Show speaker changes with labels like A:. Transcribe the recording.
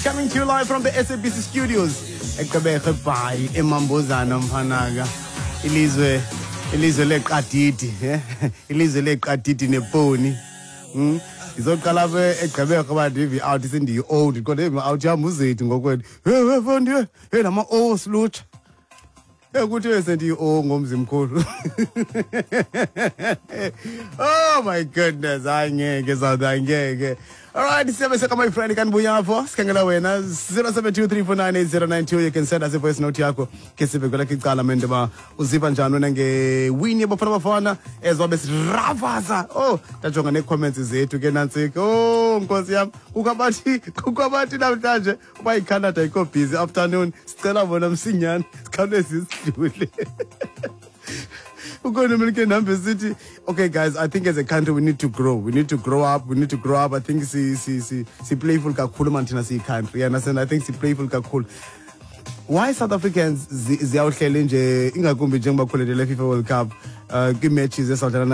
A: Coming to you live from the SABC studios eGqeberha, eBhayi, eMambozana, mfanaka. Ilizwe leqadidi, eh? Ilizwe leqadidi neponi. Ndizoqala apha eGqeberha uba ndive out sendiyi-old, kodwa out yam uzethu ngokwethu. Hey, hey, fondi, hey, nama-o silutsha. Ekuthi sendiyi-o ngomzimkhulu. Oh my goodness, hayi ngeke South, hayi ngeke. Alright, siyabe seka my friend kanbuya apho. Sikhangela wena 0723498092. You can send us a voice note yakho ke sibe kwelakho icala mende ba uziva njani wena ngewini yeBafana Bafana ezobe siravaza. Oh, ndajonga nee-comments zethu ke nantsika. Oh, nkosi yam, kukho abathi namhlanje uba iCanada ikho busy afternoon, sicela bona msinyane sikhawuleze sidlule. Ukhona mina ke ndihambe sithi, okay guys, I think as a country we need to grow, we need to grow up, we need to grow up. I think si playful kakhulu man thina siyi-country, you understand? I think si playful kakhulu. Why South Africans ziyawuhlele nje, ingakumbi njengoba khulele le FIFA World Cup, kwii-matches esawudlala?